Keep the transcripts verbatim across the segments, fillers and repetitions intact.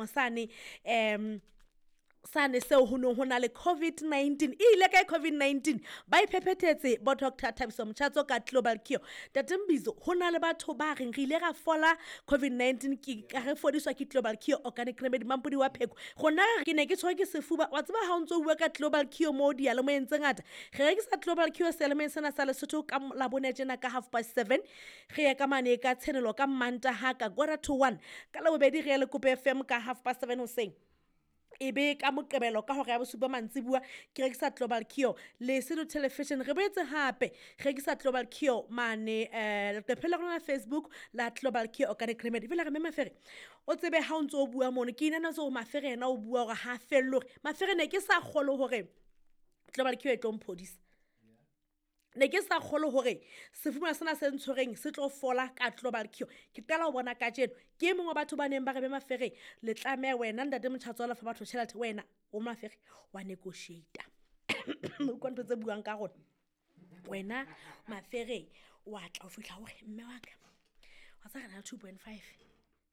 Sane um sane seo ho neng ho na le covid nineteen. E ile kae covid nineteen? Ba iphephethetse bo Doctor Thabiso Motjhatso ka Global Cure. Ntate Mbizo, ho na le batho ba reng re ile ra fola covid nineteen ke ka re fodiswa ke Global Cure Organic Remedy Mampodi wa Pheko. Rona ke ne ke tshwerwe ke sefuba. Wa tseba ha o ntso o bua ka Global Cure mo diyalemoyeng tse ngata. Re rekisa Global Cure seyalemoyeng sena sa Lesotho ka Labone tjena ka half past seven. Re ye ka mane ka Tshenolo ka Mantaha ka quarter to one. Ka Labobedi re ye Lekope F M ka half past seven hoseng. E be ka Moqebelo ka hora ya bosupa mantsibuya ke rekisa Global Cure Lesotho Television. Re boetse hape re rekisa Global Cure mane, eh, leqephe la rona la Facebook la Global Cure Organic Remedy. Fela re mme Mafere, o tsebe ha o ntso o bua mono, ke inana tse hore Mafere yena o bua hore ha felle hore Mafere ne ke sa kgolwe hore Global Cure e tlo mphodisa. Ne ke sa kgolwe hore sefuba sena se ntshwereng se tlo fola ka Global Cure. Ke qala ho bona kajeno. Ke e mong wa batho ba neng ba re be Mafere, le tlameha wena ntate Motjhatso wa lefa batho tjhelete, wena o Mafere wa negotiate. O utlwa ntho tse buang ka rona. Wena Mafere wa tla o fihla hore mme wa ka, wa tseba re na le two point five.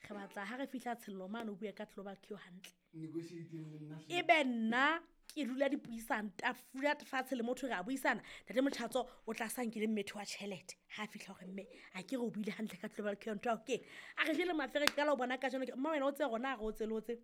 Re batla ha re fihla Tshello mane o bue ka Global Cure hantle. Negotiate le nna hle. Ebe nna ke dula dipuisano, tafula fatshe le motho re a buisana. Ntate Motjhatso o tla sa nkile mmetho wa tjhelete. Ha a fihla hore mme, a ke re o buile hantle ka Global Cure ntho ya ho keng. A re jwale Mafere ke qala ho bona kajeno ke, mma wena o tsebe rona ha re o tse le o tse.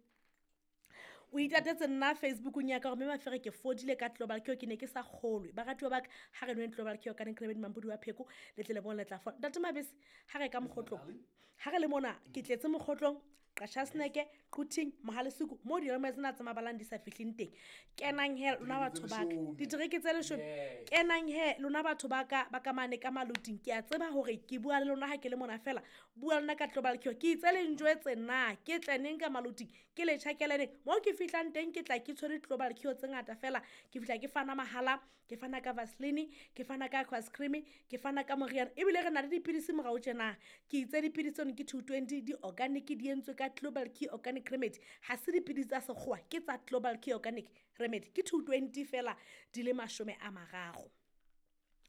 O itatetse nna Facebookong ya ka hore mme Mafere ke fodile ka Global Cure, ke ne ke sa kgolwe. Baratuwa ba ka, ha re nweng Global Cure ka Organic Remedy Mampodi wa Pheko, le tle le bone le tla fola. Ntate Mabese, ha re ka mokgotlong. Ha re le mona, ke tletse mokgotlong, Qashasneke, Quthing, Mohalesuku, mo diyalemoya tsena tse mabalang di sa fihleng teng. Kenang he lona batho ba ka. Ditereke tse leshome. Kenang he lona batho ba ka, ba ka mane ka Maluting. Ke a tseba hore ke bua le lona ha ke le mona fela. Bua le nna ka Global Cure. Ke itse le njwetse na, ke tle neng ka Maluting, ke le tjhakele neng. Mo ke fihlang teng ke tla ke tshwere Global Cure tse ngata fela. Ke fihla ke fana mahala, ke fana ka Vaseline, ke fana ka Aqua Cream, ke fana ka moriana. Ebile re na le dipidisi morao tjena. Ke itse dipidisi tseno ke two twenty, di organic, di entswe ka Global Cure Organic Remedy. Ha se dipidisi tsa sekgowa, ke tsa Global Cure Organic Remedy. Ke two twenty fela di le mashome a mararo.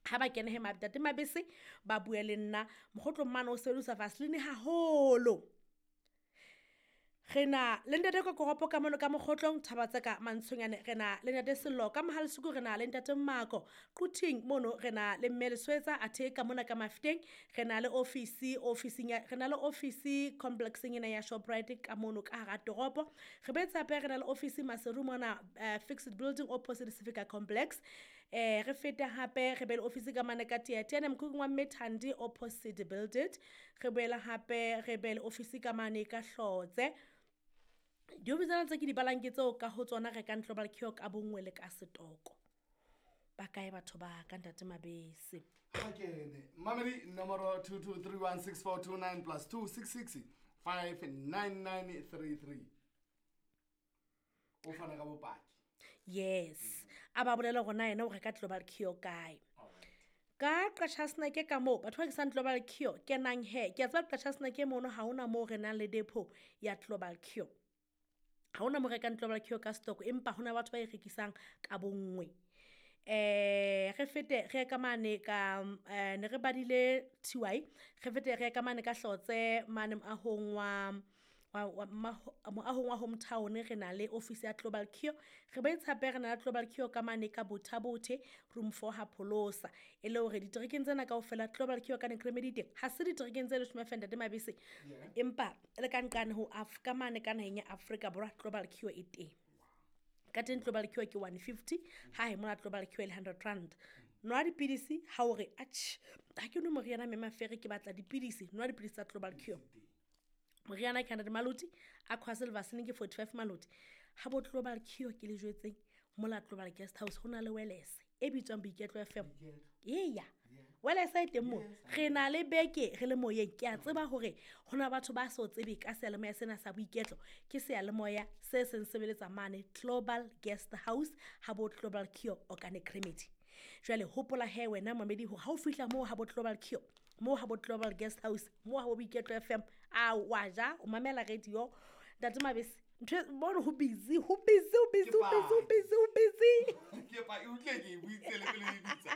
Ha ba kene he Ntate Mabese ba bue le nna. Mokgotlong mane o sebedisa Vaseline haholo. Re na le ntate Kokoropo ka mono ka mokgotlong, thaba tsa ka Mantshonyane. Re na le ntate Sello ka Mohalesuku, re na le ntate Mako Quthing mono, re na le mme Leswetsa athe ka mona ka Mafeteng. Re na le office, officing ya, re na le office complexeng ena ya Shoprite ka mono ka hara toropo. Re boetse hape re na le office Maseru mona, eh, fixed building opposite Sefika complex. Eh, re fete hape re be le office ka mane ka Teatiane mokhukhung wa Mme Thandi opposite building. Re boela hape re be le office ka mane ka Hlotse. Diofisi tsena tse ke di balang ke tseo ka ho tsona re rekang Global Cure ka bonngwe le ka setoko. Ba kae batho ba ka Ntate Mabese? Ha kene. Mamedi nomoro two two three one six four two nine plus two six six five nine nine three three. O fana ka bopaki. Yes. A ba bolela hore na yena o reka Global Cure kae. Ka Qashasneke ka moo, batho ba rekisang Global Cure, kenang he. Ke a tseba Qashasneke mono ha hona moo re nang le depo ya Global Cure. Ha hona mo rekang Global Cure ka stock, empa hona batho ba e rekisang ka bonngwe. Eh, re fete re ye ka mane ka, eh, ne re badile T Y, re fete re ye ka mane ka Hlotse mane moahong wa, wa, wa, maho, moahong wa hometown, re na le office ya Global Cure. Re boetse hape re na le Global Cure ka mane ka Botha-Bothe, room four ha Pholosa. E le hore diterekeng tsena kaofela Global Cure ka Organic Remedy teng. Ha se diterekeng tse leshome feela, Ntate Mabese. Yeah. Empa le ka nqane ho Af-, ka mane ka naheng ya Afrika Borwa Global Cure e teng. Ka teng Global Cure ke one fifty, ha he mona Global Cure e le hundred rand. Nwa dipidisi ha o re, atjhe, ha ke nwe moriana mme Mafere ke batla dipidisi, nwa dipidisi tsa Global Cure. Moriana ke hundred maloti, Aqua Silver ke forty-five maloti. Ha bo Global Cure ke le jwetseng, mola Global Guest House ho na le Wellness e bitswang Boiketlo F M. Eya. Wellness e teng moo. Re na le beke re le moyeng. Ke a tseba hore ho na batho ba so tsebe ka seyalemoya sena sa Boiketlo. Ke seyalemoya se seng sebeletsa mane Global Guest House ha bo Global Cure Organic Remedy. Jwale hopola he wena mamedi hore ha o fihla moo ha bo Global Cure, moo ha bo Global Guest House, moo ha bo Boiketlo F M, a wa ja, o mamela radio. Ntate Mabese, ntho e, bona ho busy, ho busy, ho busy, ho busy, ho busy, ho busy. Ke pa, e utlwe ke e buitse le pele e bitsa.